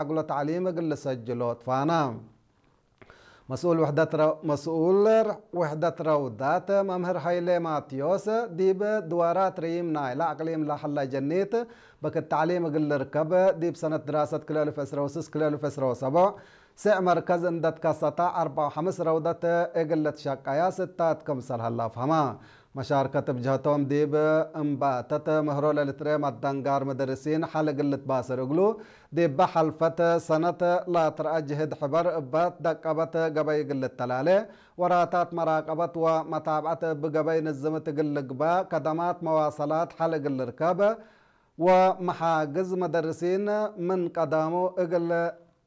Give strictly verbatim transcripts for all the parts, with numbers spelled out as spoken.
አግሎ ተዕሊም እግል ልሰጅሎ ትፋና። መስኡል ውሕደት ረ-፣ መስኡል ውሕደት ረውዳት መምህር ሀይሌ ማቴዎስ፣ ዲብ ድዋራት ርይም ናይለ አቅሊም ለሀላ ጀኒት በክት ተዕሊም እግል ልርከብ፣ ዲብ ሰነት ድራሰት ክልኤ አልፍ ዕስራ ወስስ ክልኤ አልፍ ዕስራ ወሰቡዕ፣ ስዕ መርከዝ እንደ ትከሰታ፣ አርበዕ ወሐምስ ረውደት እግል ልትሸቀያ ስታት ክምሰል ሀላ አፍሀማ። መሻርከት እብ ጀህቶም፣ ዲብ እምባተት ምህሮ ለልትርኤ መደንጋር ምድርሲን ሐል እግል ልትባሰር እግሉ፣ ዲበ ሐልፈት ሰነት ላትረአ ጅህድ ሕበር እበ ትደቀበት ገበይ እግል ልተላሌ፣ ወራታት መራቀበት ወመታብዐት እብ ገበይ ንዝምት እግል ልግበእ፣ ከደማት መዋሰላት ሐል እግል ልርከብ፣ ወመሓግዝ መደርሲን ምን ቀዳሙ እግል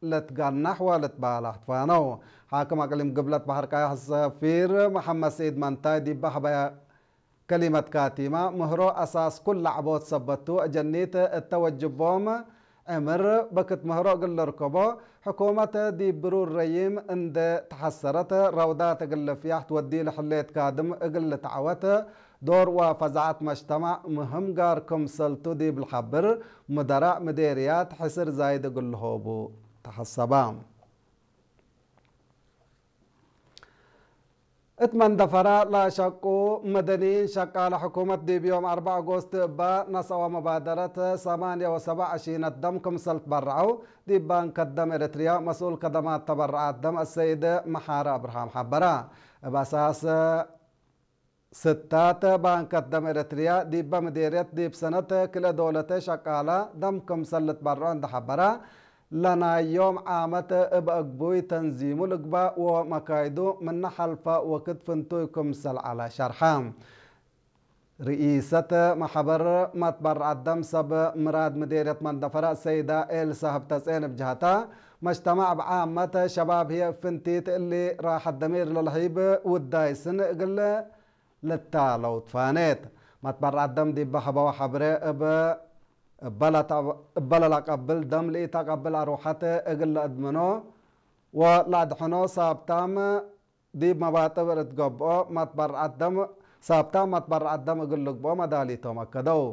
ልትገናሕ ወልትባላሕ ትፋነው። ሓክም አቅሊም ግብለት በሐር ቃያሕ ሰፊር መሐመድ ሰዒድ መንታይ ዲበ ሀበያ ከሊመት ካቲማ፣ ምህሮ አሳስ ኩል ለዐቦት ሰበት ቱ፣ አጀኒት እተ ወጅቦም ዕምር በክት ምህሮ እግል ልርከቦ፣ ሕኩመት ዲብ ብሩር ረዪም እንዴ ተሐሰረት፣ ረውዳት እግል ልፍያሕ ትወዲ ለሕሌት ካድም እግል ልትዐወት፣ ዶር ወፈዛዐት መጅተማዕ ምህም ጋር ክምሰልቱ ዲብ ልሐብር፣ ሙደራእ ምዴርያት ሕስር ዛይድ እግል ልሆቡ ተሐሰባ። እት መንደፈራ ለአሸቁ መደኒን ሸቃለ ሕኩመት ዲብ ዮም አርበዕ አጎስት እበ ነስአወ መባደረት ሰማንየ ወሰብዕ አሺነት ደም ክምሰል ትበረዐው፣ ዲብ ባንከት ደም ኤረትርያ መስኡል ከደማት ተበረዓት ደም አሰይድ መሓረ አብርሃም ሐበረ። እብ አሳስ ስታት ባንከት ደም ኤረትርያ ዲበ ምዴርየት ዲብ ሰነት ክልኤ ዶለተ ሸቃለ ደም ክምሰል ልትበረዖ እንዴ ሐበረ፣ ለናይ ዮም ዓመት እብ አግቡይ ተንዚሙ ልግባእ ወመካይዱ ምነ ሐልፈ ወክድ ፍንቱይ ክምሰል ዐለ ሸርሐ። ርኢሰት መሕበር መትበረዐት ደም ሰብ ምራድ ምዴርየት መንደፈረ ሰይዳ ኤልሳ ህብተጼን እብ ጀህታ፣ መጅተማዕ እብ ዓመት ሸባብ ህዬ እብ ፍንቲት እሊ ራሐት ደሚር ለልሀይብ ውዳይ ስን እግል ልታለው ትፋኔት። መትበረዐት ደም ዲብ ሀበው ሐብሬ እብ፣ እበ ለተ-፣ እበ ለለቀብል ደም ለኢተቀብል አርወሐት እግል ለአድምኖ ወለአድሕኖ ሳብታም ዲብ መባጥብ እት ገብኦ መትበረዐት ደም፣ ሳብታም መትበረዐት ደም እግል ልግብኦ መዳሊቶም አከደው።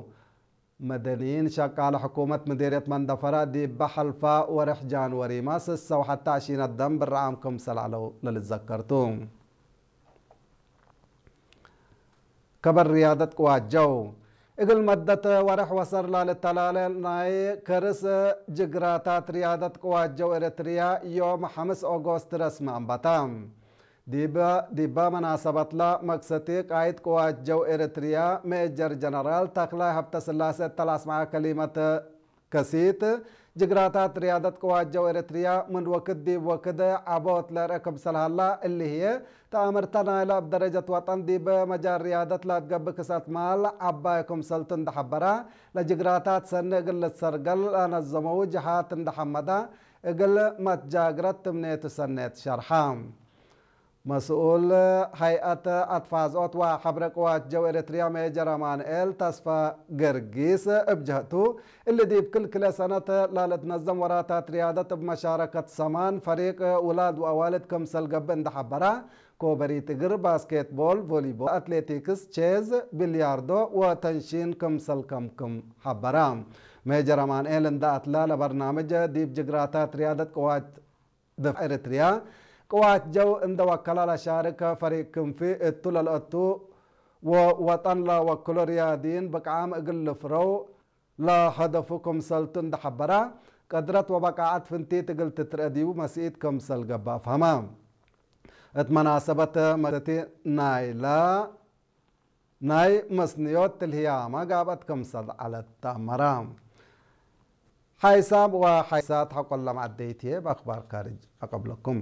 መደኒን ሸቃለ ሕኩመት ምዴርየት መንደፈረ ዲበ ሐልፋ ወርሕ ጃንወሪመ ስሰ ወሐተ አሺነት ደም ብርዓም ክምሰል ዐለው ለልትዘከር ቱ። ከበር ርያደት ቅዋት ጀው። እግል መደት ወርሕ ወሰር ላልተላለ ናይ ከርስ ጅግራታት ርያደት ቅዋት ጀው ኤረትርያ ዮም ሐምስ ኦጎስት ረስሚ አንበተ። ዲበ፣ ዲበ መናሰበትለ መክሰቲ ቃይድ ቅዋት ጀው ኤረትርያ ሜጀር ጀነራል ተክላይ ሀብተስላሴ እተ ለአስመዐ ከሊመት ከሲት፣ ጅግራታት ርያደት ቅዋት ጀው ኤረትርያ ምን ወክድ ዲብ ወክድ ዐቦት ለርአ ክምሰል ሀላ፣ እሊ ህዬ ተአምርተ ናይለ እብ ደረጀት ወጠን ዲብ መጃል ርያደት ለአትገብእ ክስአት ማል ዐባይ ክምሰልቱ እንዴ ሐበረ፣ ለጅግራታት ሰኒ እግል ልትሰርገል ለነዘመዉ ጀሃት እንዴ ሐመደ፣ እግል መትጃግረት ትምኔቱ ሰኔት ሸርሐ። መስኡል ሀይአት አትፋዝኦት ወሐብረ ቅዋት ጀው ኤረትርያ ሜጀር አማንኤል ተስፋ ገርጊስ እብ ጀህቱ፣ እሊ ዲብ ክል ክልኤ ሰነት ለልትነዘም ወራታት ርያደት እብ መሻረከት ሰማን ፈሪቅ ውላድ ወአዋልድ ክምሰል ገብእ እንዴ ሐበረ፣ ኮበሪት እግር፣ ባስኬትቦል፣ ቮሊቦል፣ አትሌቲክስ፣ ቼዝ፣ ቢልያርዶ ወተንሺን ክምሰል ከምክም ሐበረ። ሜጀር አማንኤል እንዴ አትላ ለበርናምጅ ዲብ ጅግራታት ርያደት ቅዋት ድፋዕ ኤረትርያ ቅዋት ጀው እንደ ወከላ ለሻርክ ፈሪቅ ክንፊ እቱ ለልአቱ ወወጠን ለወክሎ ርያድይን ብቅዓም እግል ልፍረው ለሀደፉ ክምሰልቱ እንደ ሐበረ፣ ቅድረት ወበቃዐት ፍንቲት እግል ትትርአ ዲቡ መስኢት ክምሰል ገብእ አፍሀመ። እት መናሰበት መክሰቲ ናይለ ናይ መስንዮት ትልህያመ ጋብአት ክምሰል ዐለት ተአመረ። ሓይሳም ወሓይሳት ሐቆለ መዐደይት ህዬ በአክባር ካርጅ አቀብለኩም።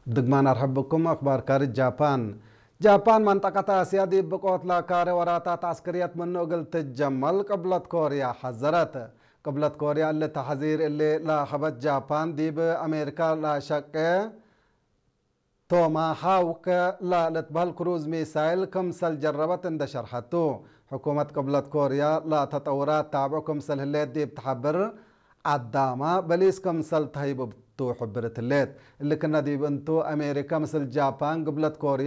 ድግማን አርሐብ ብኩም። አክባር ካርጅ ጃፓን። ጃፓን መንጠቀት አስያ ዲብ ብቆት ለካሬ ወራታት ዐስክርየት ምኑ እግል ትጀመል ቅብለት ኮርያ ሐዘረት። ቅብለት ኮርያ እሊ ተሕዚር እሊ ለሀበት ጃፓን፣ ዲብ አሜሪካ ለሸቄ ቶማሃውክ ለልትበህል ክሩዝ ሚሳይል ክምሰል ጀረበት እንደ ሸርሐቱ፣ ሕኩመት ቅብለት ኮርያ ለተጠውራት ታብዑ ክምሰል ህሌት ዲብ ተሐብር፣ ዐዳመ በሊስ ክምሰል ተህይብ ቱ ሕብርት ህሌት። እሊ ክነ ዲብ እንቱ፣ አሜሪካ ምስል ጃፓን፣ ቅብለት ኮርያ፣